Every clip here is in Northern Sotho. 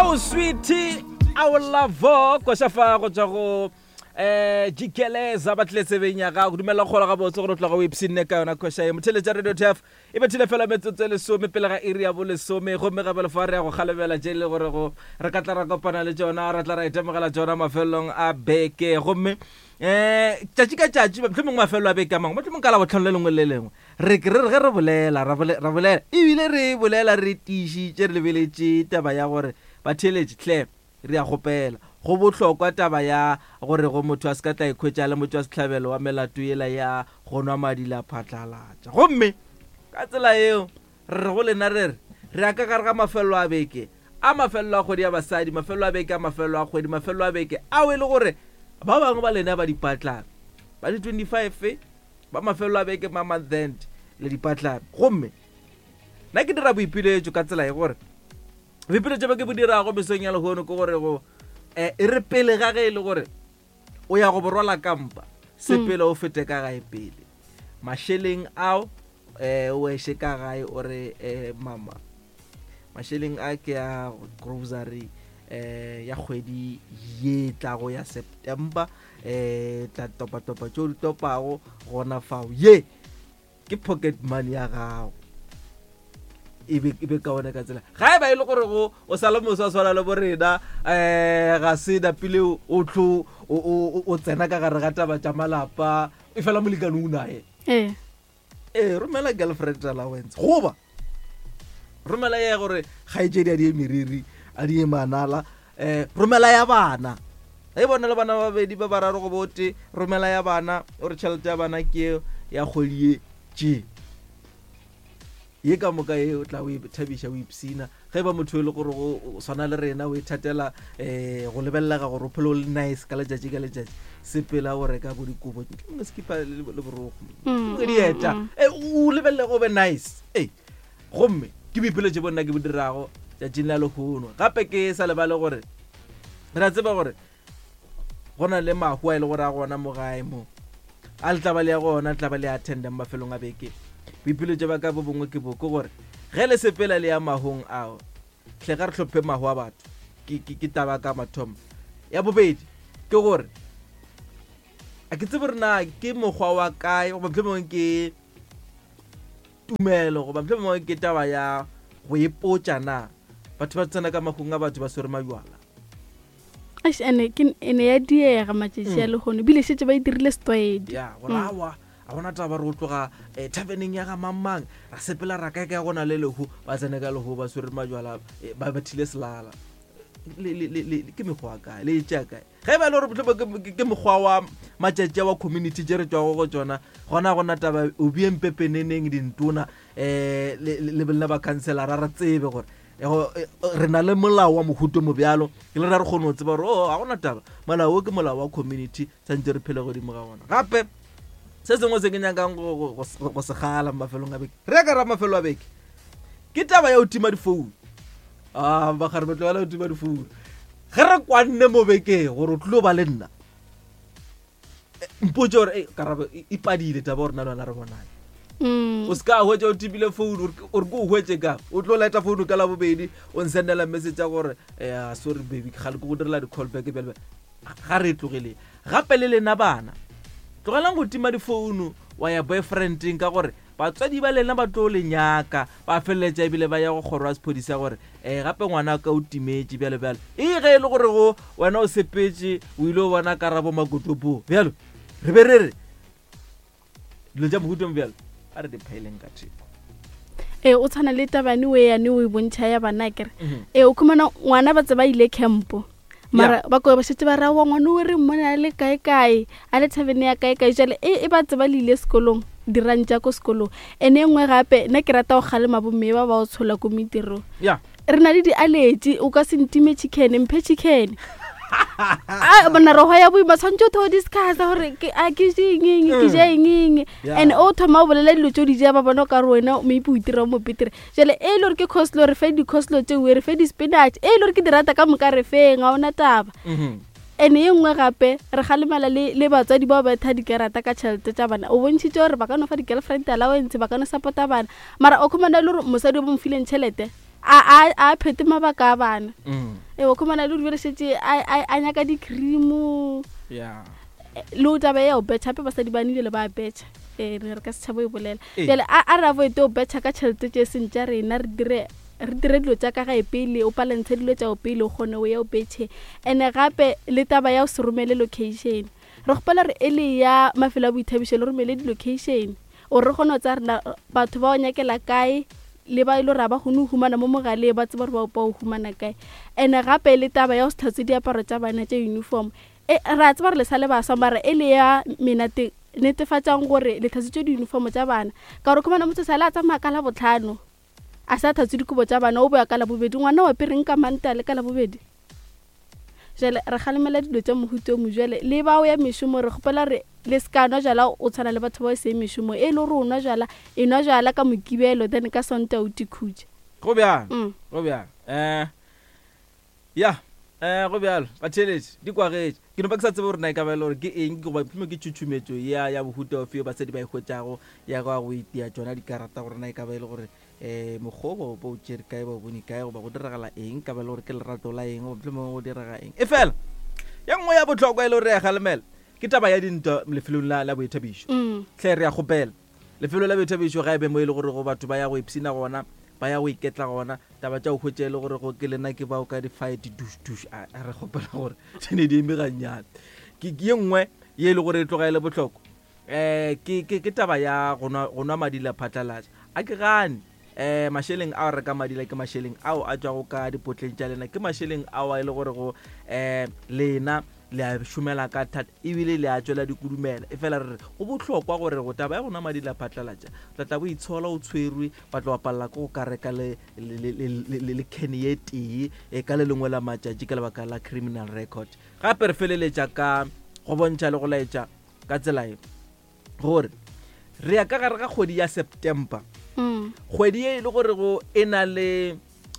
Oh sweetie, our love koša fa go tswa go eh jikeleza ba tlile tsebeng ya gago dumela kgola gabotse gore o tloga o ipshinne ka yona koša ye motheletša radio tf e bethile fela metsotso e lesome pele ga iri ya bolesome gomme gape lefa re ya go kgalemela tše e le gore go re ka tla ra kopana le tšona ra tla ra itemogela tšona mafelelong a beke gomme um tšatši ka tšatši mohlomongwe mafelelo a beke a mangwe mohlomongwe ka labotlhano le lengwe le le lengwe re ke re re ge re bolela ra bole- ra bolela ebile re bolela re tiišitše re lebeletše taba ya gore batheeletši hle re a kgopela go bohlokwa taba ya gore go motho a se ka tla ikhwetša a le motšwasehlabelo wa melato yela ya go nwa madi la phatlalatša gomme ka tsela yeo re re go lena re re re ya ka gare ga mafelelo a beke a mafelelo a kgwedi ya basadi mafelelo a beke a mafelelo a kgwedi mafelelo a beke ao e le gore ba bangwe ba lena ba dipatlana ba di 25 ba mafelelo a beke ma month end le dipatlana gomme nna ke dira boipiletšo ka tsela ye gore boipiletšo bo ke bo dirago mesong ya lehono ke gore go um e re pele ga ge e le gore o ya go borwala kampa sepele o fete ka gae pele mašeleng ao um o eše ka gae o re um mama mašeleng a ke a grocery um ya kgwedi ye tlago ya september um tla topatopa tšeo di topago gona fao ye ke pocket money ya gago e be e be kaone ka tsela ga e ba e le gore go o sa le moswa swana le borena um ga se napile o tlo o tsena ka gare ga taba tša malapa e fela molekane o naye ee ee romela girlfriend allowance goba romela ya gore kgaetšedi a di ye meriri a di ye manala um romela ya bana ge bona le bana ba babedi ba bararo go bote romela ya bana o re tšhelete ya bana ke ya kgwedi ye tše Ye ka moka ye o tla o e thabiša o ipshina. Ge e ba motho e le gore o swana le rena o ithatela um go lebelelega gore o phele o le nice ka letšatši ka letšatši, sepela o reka bo dikobo, mohlomongwe sekipa le borokgo, mohlomongwe dieta, e o lebelelege o be nice. Ee, gomme ke boipiletšo bo nna ke bo dirago tšatšing la lehono. Gape ke sa lebale gore re a tseba gore go na le mahu a e le gore a gona mo gae mo a le tla ba le ya gona le tla ba le attenda mo mafelong a beke boipiletšo ba ka bo bongwe ke bo ke gore ge le sepela le ya mahong ao hle ga re hlophe mahu a batho ke, ke, ke taba ka mathomo ya bobedi ke gore a ke tsebe gore na ke mokgwa wa kae goba mohlomongwe ke tumelo goba mohlomongwe ke taba ya go ipotša na batho ba tsena ka mahung a batho ba swere majwala Eish, ene ke ene ya diega matšatši a lehono ebile šetše ba e dirile setlwaedi ya gore awa a gona taba re o tloga um taverneng ya ga mang-mang ra sepela ra kae kae go na le lehu ba tsene ka lehu ba swere majwala eh, ba bathile selala Le- le- le- le- ke mekgwa kae le e tšea kae ge e ba e le gore mohlomongwe ke- ke- ke mokgwa wa matšatši a wa community tše re tšwago go tšona gona gona taba o bieng pepeneneng dintona um le le ba councilora re tsebe gore re na le molao wa mohuto mo bjalo ke le ra re kgone go tseba gore o oh, ga gona taba molao o ke molao wa community tshwanetse re phele godimo ga gona gape se sengwe se ke nyakang go se gala mo mafelong a beke re ya ka ra mafelo a beke ke taba ya go tima difounu a ah, bagare ba tlogela go tima difounu ge re kwanne mo bekeng gore o tlilo ba le nna mpotse gore ei karabo e e padile taba gore na le wena re bonane Mm. o se ka hwetša o tipile founu ore ke o hwetše ka o tlo leta founu ka labobedi o nsendela message ya gore eh, sorry baby kgale ke go direla di-call back bjale ga re e tlogeleng gape le lena bana tlogelang go tima difounu wa ya boyfriendeng ka gore Batswadi ba lena ba tlo le nyaka, ba feleletša ebile ba ya go kgoro ya sephodisa gore um gape ngwana ka o timetše bjalo bjalo. E ge e le gore go wena o sepetše o ile o bona karabo makotopo bjalo re be re re dilo tša mohuta mo bjalo a re di phaeleng ka theko. Ee, o tshwana le tabane o yane o e bontšha ya bana kere. Ee, o khumana ngwana ba tse ba ile campo. mara ba ko ba šetse ba ra wa ngwana o re mmone a le kae kae a le thabene ya kae kae jale e, e ba tseba le ile sekolong dirang tša ko sekolong ene e nngwe gape nna ke rata go kgalema bomme ba ba o tshola ko metirong yeah re na le di-allergy o ka se ntime chicken mphe chicken a bona rogo ya boima tshwanetse o tho discussa gore a ke je eng ke je eng eng and o thoma o bolela dilo tse o di ja ba bona o ka re wena maybe o itira mo petere jale e le gore ke coslo re fe di-coslo tšeo re fe di-spinach e le gore ke di rata ka moka re feng ga ona taba mhm. and e nngwe gape re galemela le, le batswadi bao ba tha dikarata ka tšhelete tša bana o bontšhitše gore ba ka no fa di-girlfriend allowance ba ka no support-a bana mara o khumana e le gore mosadi o bo mo fileng tšhelete A a a phete mabaka a bana. Ee, o khumana le gore šetše a a a nyaka di-cream. Yeah. Le o taba ya o betšha gape basadi ba nile le ba betšha. Ee, re re ka setšhaba e bolela. Jale a a re avoid o betšha ka tšhelete tše seng tša rena re dire re dire dilo tša ka gae pele o palentshe dilo tša o pele o kgone o ye o betšhe. Ene gape le taba ya o se romele location. Re kgopela re e le ya mafelo a boithabišo le romele di-location gore re kgone go tsaya rena batho ba o nyakela kae le ba e le gore ga ba kgone go humana mo mogaleng ba tseba gore ba o humana kae. And-e gape le taba ya go se tlhatswe diaparo tša bana tša uniform e re a tseba gore le sa le baswa mara e le ya menate netefatšang gore le tlhatswitše di-uniform tša bana ka gore khumana motho sa le a tsamaya ka labotlhano a sa tlhatswe dikobo tša bana o boya ka labobedi ngwana o apereng ka manta le ka labobedi. Jale re kgalemela dilo tša mohuta o mojale le bao ya mešomo re kgopela re le se ka nwa jala o tshwana le batho bao e seng mešomo e le gore o nwa jala e nwa jala ka mokibelo then ka sonta o tikhutše. Go bjalo, go bjalo. Eh, ya, eh, go bjalo. Batheeletši, di kwagetše. Ke no ba ke sa tsebe gore na e ka ba e le gore ke eng goba mohlomongwe ke tšhutšhumetšo ya, ya bohuta ofe yeo basadi ba e hwetšago ya go ya go itia tšona dikarata gore na e ka ba e le gore um mokgwa o ba o tšere kae ba o bone kae goba go diragala eng ka ba le gore ke lerato la eng goba mohlomongwe go direga eng e fela ya nngwe ya bohlokwa e le gore re ya galemela ke taba ya dintwa lefelong la, la boithabišo mm. hle re ya kgopela lefelo la boithabišo ga e be mo e le gore go batho ba ya go ipshina gona ba ya go iketla gona taba tša go hwetša e le gore go ke lena ke bao ka di-fight dush dush a re kgopela gore di ne di eme gannyane ke ye nngwe ye e le gore e tloga e le bohlokwa um ke, ke, ke taba ya go nwa, go nwa madila phatlalatša. A ke gane. Um mašeleng ao a reka madila ke mašeleng ao a tšwago ka dipotleng tša lena, ke mašeleng ao a e le gore go um lena le a šomela ka thata ebile le a tšwela dikudumela. Efela re re go bohlokwa gore go taba ya go nwa madila phatlalatša, o tla tla bo itshola o tshwerwe, wa tla wa palela ke go ka reka le, le, le, le, le, le, le can ye tee e ka le lengwe la matšatši ka lebaka la criminal record. Gape re feleletša ka go bontšha le go laetša ka tsela ye gore re ya ka gare ga kgwedi ya September mm. kgwedi ye e le gore go e na le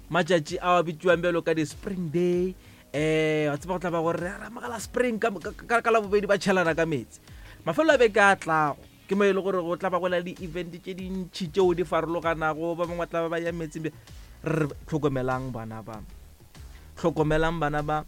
matšatši a a bitšiwang bjalo ka di-spring day um wa tseba go tla ba gore re ramogela spring ka labobedi ba tšhelana ka metsi mafelo a beke a tlago ke mo e le gore go tla ba go na le di-event tše dintšhi tšeo di farologanago ba bangwe ba tla ba ba ya metseng re tlhokomelang bana ba hlokomelang bana ba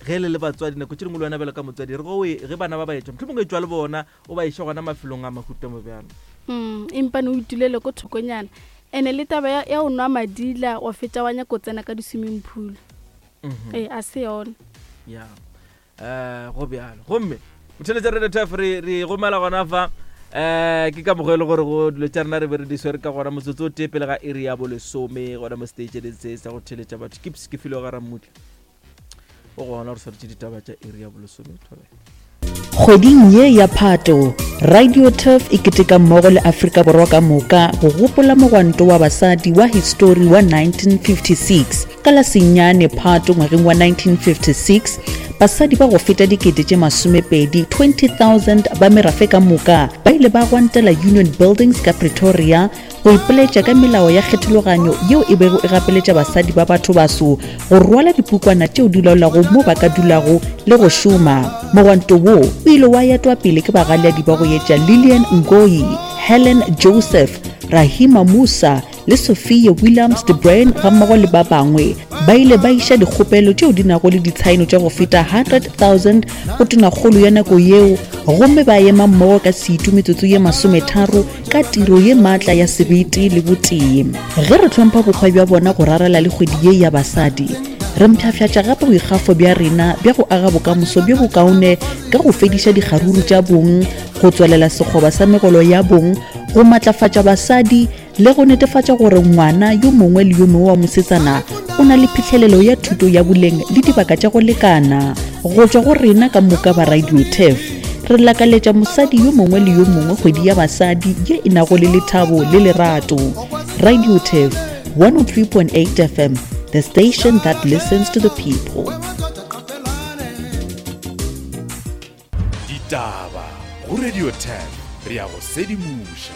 ge le le batswadi nako tše dingwe le wena bjalo ka motswadi re go ge bana ba ba etšwa mohlomongwe etšwa le bona o ba iša gona mafelong a mahuta mo bjalo mm, empane o itulele ko thokonyana ene le taba ya, ya o nwa madila wa fetša wa nyako tsena ka di-swimming pool mm -hmm. ee a se yona ya um go bjalo gomme motheletša radio taf re re gomela gona fa um ke ka mokgwa e le gore go dilo tša rena re be re di swere ka gona motsotso o tee pele ga iri ya bolesome gona mo stationeng se sa go theletša batho ke ke file ga rammutla o gona re swaretše ditaba tša iri ya bolesome thobela Kgweding ye ya Phato, Radio Turf e keteka mmogo le Afrika Borwa ka moka go gopola mogwanto wa basadi wa histori wa 1956. Ka la senyane Phato ngwageng wa 1956, basadi ba go feta dikete tše masomepedi, 20,000, ba merafe ka moka ba ile ba gwantela Union Buildings ka Pretoria go ipoletša ka melao ya kgethologanyo yeo e bego e gapeletša basadi ba bathobaso go rwala dipukwana tšeo di laolago mo ba ka dulago le go šoma. Mogwanto wo o ile wa etwa pele ke bagaleadi ba go etša Lillian Ngoyi, Helen Joseph, Rahima Moosa le Sophia Williams de Bruyn gammogo le ba bangwe. Ba ile ba iša dikgopelo tšeo di nago le ditshaeno tša go feta 100,000 go tonakgolo ya nako yeo gomme ba ema mmogo ka setu metsotso ye masometharo ka tiro ye maatla ya sebete le botee. Ge re hlompha bokgwa bja bona go rarela le kgwedi ye ya basadi, re mpshafšatša gape boikgafo bja rena bja go aga bokamoso bjo bokaone ka go fediša dikgaruru tša bong, go tswalela sekgoba sa megolo ya bong, go matlafatša basadi le go netefatša gore ngwana yo mongwe le yo mongwe wa mosetsana o na le phihlelelo ya thuto ya boleng le dibaka tša go lekana. Go tšwa go rena ka moka ba Radio Turf, re lakaletša mosadi yo mongwe le yo mongwe kgwedi ya basadi ye e nago le lethabo le lerato. Radio Turf, 103.8 FM, the station that listens to the people. Ditaba go Radio 10 re ya go sedimoša.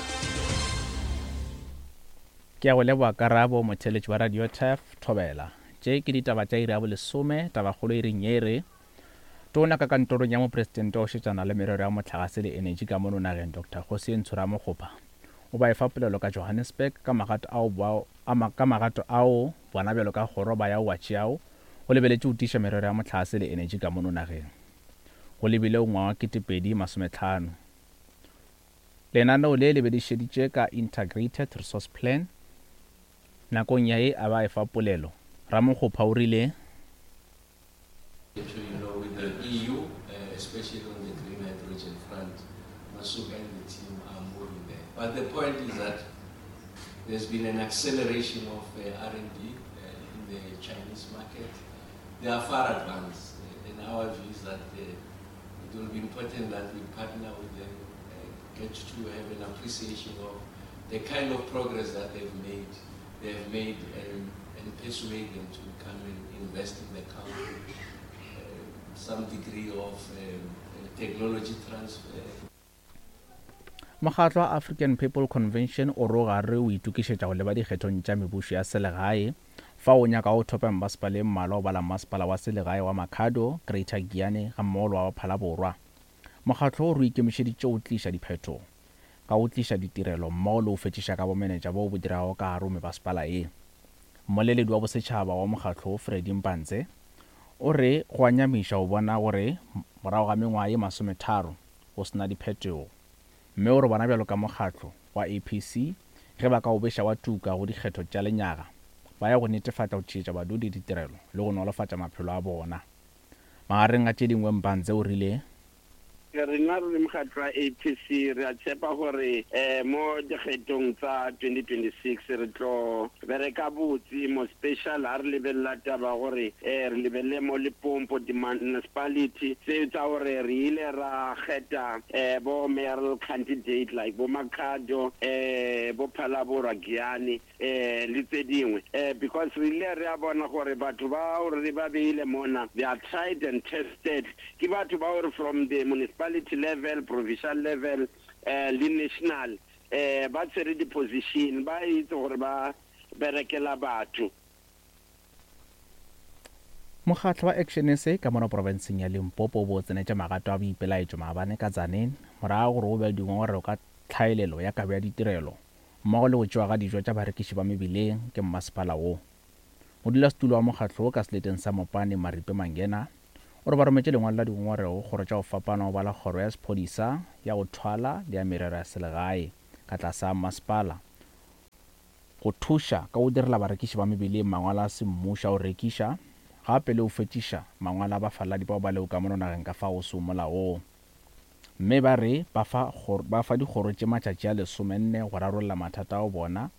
Ke a go leboga Karabo, motheeletši wa Radio Turf, Thobela. Tše ke ditaba tša iri ya bolesome, tabakgolo iring ye e re, Tona ka kantorong ya Mopresidente wa go šetšana le merero ya mohlagase le enetši ka mono nageng Doctor Kgosientsho Ramokgopa o ba efa polelo ka Johannesburg ka magato ao bao ka magato ao bona bjalo ka kgoro ba ya go a tšeago go lebeletše go tiiša merero ya mohlagase le enetši ka mono nageng go lebile ngwaga wa 2050. Lenaneo le le bedišeditše ka Integrated Resource Plan. Nakong ya ye a ba efa polelo, Ramokgopa o rile. You know, with the EU, uh, especially on the green hydrogen front, Masuk and the team are moving there. But the point is that there's been an acceleration of uh, R&D uh, in the Chinese market. They are far advanced. Uh, and our view is that uh, it will be important that we partner with them, uh, get to have an appreciation of the kind of progress that they've made, they have made and, and persuade them to come and invest in the country. Uh, some degree of um, technology transfer. Mokgatlo wa African People Convention o ro gare o itokišetša go leba dikgethong tša mebušo ya selegae fao o nyakago go thopa mebasepala e mmalwa go bala mmasepala wa selegae wa Makhado, Greater Giyani gammogo le wa Phalaborwa. Mokgatlo o re o ikemišeditše go tliša diphetogo ka go tliša ditirelo mmogo le go fetšiša ka bomenetša boo bo dirago ka gare go mebasepala ye. Mmoleledi wa bosetšhaba wa mokgatlo wo Freddy Mpantse o re go a nyamiša go bona gore morago ga mengwaga ye masometharo go se na diphetogo mme o re bona bjalo ka mokgatlo wa APC ge ba ka o beša wa tuka go dikgetho tša lenyaga ba ya go netefatša go tšeetša badudi ditirelo le go nolofatša maphelo a bona. Magareng a tše dingwe Mpantse o rile. Rena re le mokgatlo wa APC re a tshepa gore mo dikgethong tsa 2026 re tlo bereka botse, mo special ha re lebelela taba gore re lebelele mo Limpopo di-municipality tseo tsa gore re ile ra kgetha bo mayoral candidate like bo Makhado, bo Phalaborwa, Giyani le tse dingwe because re ile re a bona gore batho ba re ba beile mona they are tried and tested, ke batho ba gore from the municipality level, provincial level le national ba tshwere di-position, ba itse gore ba berekela batho. Mokgatlo wa Action SA ka mono profenseng ya Limpopo o bo o tsenetše magato a boipelaetšo maabane ka Tzaneen morago ga gore go be le dingongorego ka tlhaelelo ya kabo ya ditirelo mmogo le go tšewa ga dijo tša barekiši ba mebileng ke mmasepala wo. Modulasetulo wa mokgatlo wo ka seleteng sa Mopani, Maripe Mangena, o re ba rometše lengwalo la dingongorego go kgoro tša go fapana go bala kgoro ya sephodisa, ya go thwala le ya merero ya selegae ka tlase ga mmasepala go thuša ka go direla barekiši ba mebileng mangwalo a semmušo a go rekiša gape le go fetšiša mangwalo a bafaladi bao ba lego ka mono nageng ka fao go sego molaong. Mme ba re ba fa ba fa dikgoro tše matšatši a lesomenne go rarolla mathata ao bona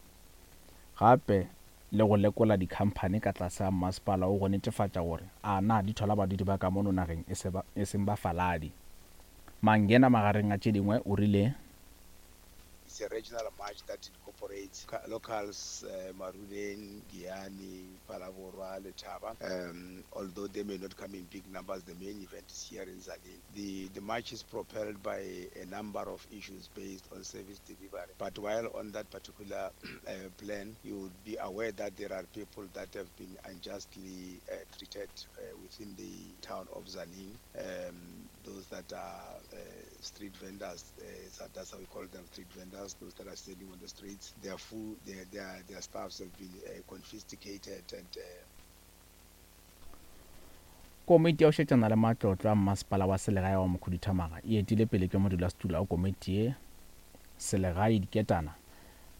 gape le go lekola dikhamphani ka tlase ga mmasepala wo go netefatša gore a na di thola badudi ba ka mono nageng e se ba e seng bafaladi. Mangena magareng a tše dingwe o rile. It's a regional march that incorporates locals, Maruleng, Giyani, Phalaborwa, Letaba. Although they may not come in big numbers, the main event is here in Tzaneen. The, the march is propelled by a number of issues based on service delivery. But while on that particular plan, you would be aware that there are people that have been unjustly treated within the town of Tzaneen. Those that are street vendors, that's how we call them, street vendors, those that are selling on the streets, their food, their, their, their stuffs have been confiscated and Komiti ya go šetšana le matlotlo a mmasepala wa selegae wa Mokhuduthamaga e etile pele ke modulasetulo wa komiti ye selegae Diketana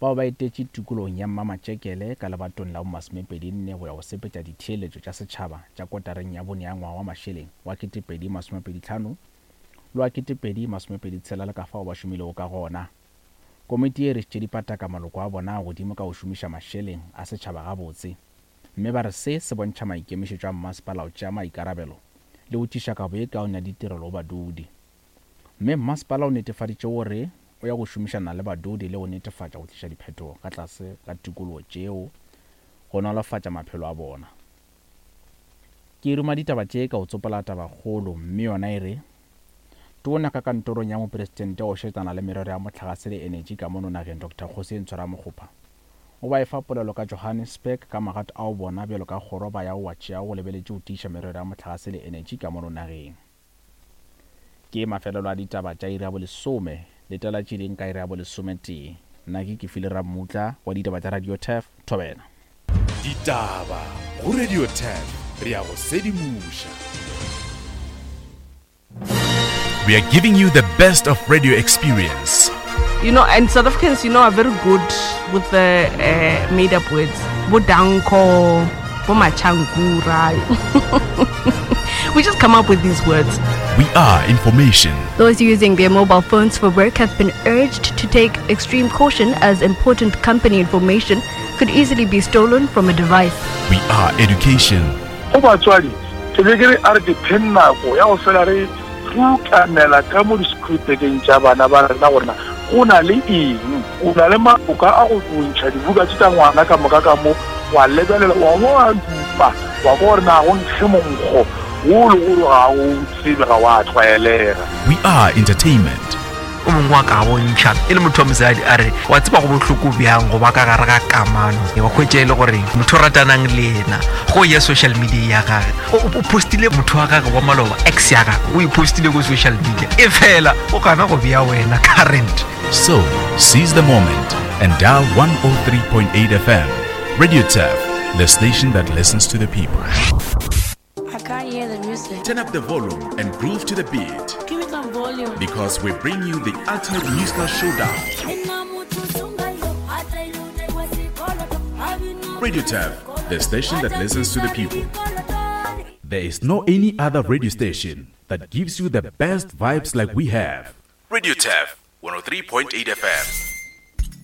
bao ba etetše tikologong ya Mmamatšekele ka lebatong la bomasomepedi-nne go ya go sepetša ditheeletšo tša setšhaba tša kotareng ya bone ya ngwaga wa mašeleng wa 2025 le wa 2026 le ka fao ba šomilego ka gona. Komiti ye e rešitše dipataka maloko a bona a godimo ka go šomiša mašeleng a setšhaba gabotse mme ba re se se bontšha maikemišetšo a mmasepala go tšea maikarabelo le go tliša kabo ye kaone ya ditirelo go badudi. Mme mmasepala o netefaditše gore o ya go šomišana le badudi le go netefatša go tliša diphetogo ka tlase ga tikologo tšeo go nolofatša maphelo a bona. Ke ruma ditaba tše ka go tsopola tabakgolo mme yona e re, Tona ka kantorong ya Mopresidente wa go šetšana le merero ya mohlagase le enetši ka mono nageng Doctor Kgosientsho Ramokgopa o ba efa polelo ka Johannesburg ka magato ao bona bjalo ka kgoro ba yago wa tšeago go lebeletše go tiiša merero ya mohlagase le enetši ka mono nageng. Ke mafelelo a ditaba tša iri ya bolesome. Letela tše ding ka iri ya bolesometee. Nna ke Kefile Rammutla wa ditaba tša Radio Turf, Thobela. Ditaba go Radio Turf, re a go sedimoša. We are giving you the best of radio experience. You know, and South Africans, you know, are very good with the uh, made up words. Bodanko, Bomachankura. we just come up with these words. We are information. Those using their mobile phones for work have been urged to take extreme caution as important company information could easily be stolen from a device. We are education. Go batswadi, ke be ke re a re dipheng nako ya go fela re rukanela ka mo di-schoolbageng tša bana ba rena gore na go na le eng. O na le maloka a go ntšha dibuka tše tša ngwana ka moka ka mo, wa lebelela, wa bo wa dupa, wa kwa gore na go nkge monkgo wo le gore ga o tsebe, ga wa tlwaelega. We are entertainment. O mongwe wa ka bontšha e le motho wa mosadi a re wa tseba go bohloko bjang go ba ka gare ga kamano wa hwetša e le gore motho o ratanang le yena go ya social media ya gage o postile motho wa gage wa maloba ex ya gage o e postile ko social media e fela o gana go bea wena current. So, seize the moment and dial 103.8 FM. Radio Turf, the station that listens to the people. I can't hear the music. Turn up the volume and groove to the beat. Give me some volume. Because we bring you the ultimate musical showdown. Radio Turf, the station that listens to the people. There is no any other radio station that gives you the best vibes like we have. Radio Turf, 103.8 FM.